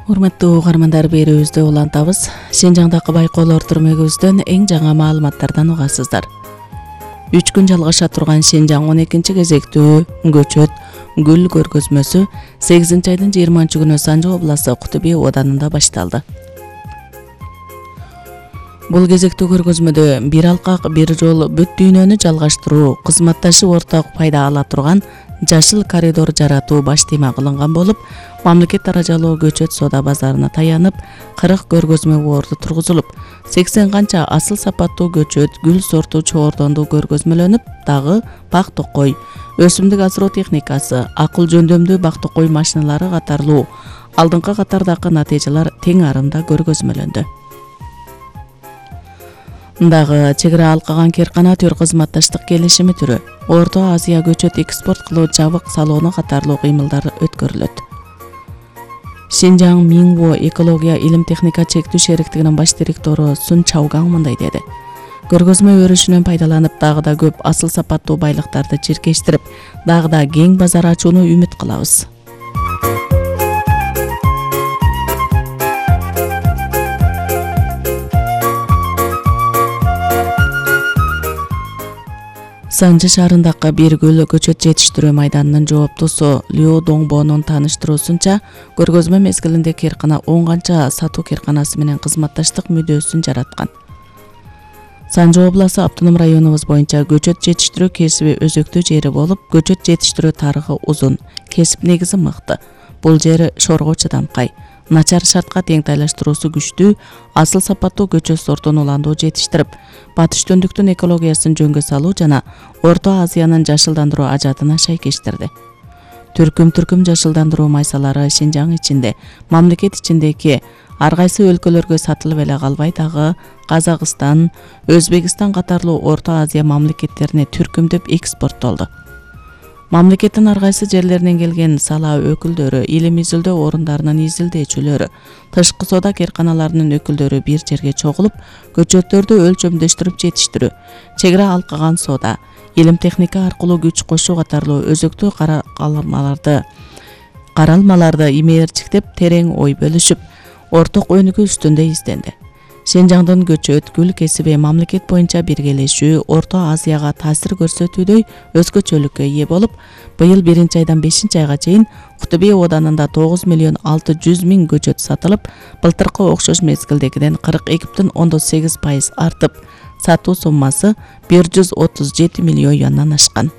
Урматтуу угармандар, берүүбүздү улантабыз. Синжаңдагы байкоолор түрмөгүбүздөн эң жаңы маалыматтардан угасыздар. 3 күн жалгаша турган Синжаң 12-кезектүү көчөт гүл көргөзмөсү 8-айдын 20-күнү Санжы областы Кутуби оданында башталды. Бул кезектүү көргөзмөдө бир алкак бир жол бүт дүйнөнү жалгаштыруу, кызматташып орток пайда ала турган жашыл коридор жаратуу баш тема кылынган болуп, мамлекет даражалуу көчөт соода базарына таянып 40 көргөзмө борду тургузулуп, 80 канча асыл сапаттуу көчөт гүл сорту чоордонду көргөзмөлөнүп, дагы бак токой, өсүмдүк асыроо техникасы, акыл жөндөмдүү бак токой машиналары катарлуу алдыңкы катардагы натыйжалар тең арымда көргөзмөлөндү. Дагы чек ара алкаган Керкана төр кызматташтык келишими түрү, Орто Азия көчөт экспорт кылуу жабык салону катарлуу кыймылдар өткөрүлөт. Синжаң Минво экология илим техника чектүү шериктигинин баш директору Сун Чаугаң мындай деди. Көргөзмө өрүшүнөн пайдаланып, дагы да көп асыл сапаттуу байлыктарды чиркештирип, дагы да кең базар ачууну үмүт кылабыз. Санжы шаарындагы бир гүл көчөт жетиштирүү майданынын жооптусу Лю Доңбонун тааныштыруусунча, көргөзмө мезгилинде Керкана 10 канча сатуу керканасы менен кызматташтык мүдөөсүн жараткан. Санжы обласы автоном районубуз боюнча көчөт жетиштирүү кесиби өзөктүү жери болуп, көчөт жетиштирүү тарыхы узун, кесип негизи мыкты. Бул жер шорго чыдамкай, начар шартка тең тайлаштыруусу күчтүү, асыл сапаттуу көчөт сортун уландуу жетиштирип, батыш төндүктүн экологиясын жөнгө салуу жана Орто Азиянын жашылдандыруу ажатына шайкештирди. Түркүм жашылдандыруу майсалары Синжаң ичинде, мамлекет ичиндеги ар кайсы өлкөлөргө сатылып эле калбай, дагы Казакстан, Өзбекстан катарлуу Орто Азия мамлекеттерине түркүмдөп экспорттолду. Мамлекеттин ар кайсы жерлеринен келген сала өкүлдөрү, илим изилдөө орундарынын изилдөөчүлөрү, тышкы соода керканаларынын өкүлдөрү бир жерге чогулуп, көчөттөрдү өлчөмдөштүрүп жетиштирүү, чек ара алкаган соода, илим техника аркылуу күч кошуу катарлуу өзөктүү каралмаларды имээрчиктеп, терең ой бөлүшүп, орток өнүгүү үстүндө изденди. Синжаңдын көчөт гүл кесиби мамлекет боюнча биргелешүү Орто Азияга таасир көрсөтүүдөй өзгөчөлүккө ээ болуп, быйыл 1-айдан 5-айга чейин Кутуби оданында 9.600.000 көчөт сатылып, былтыркы окшош мезгилдегиден 42.8% артып, сатуу суммасы 137 миллион юандан ашкан.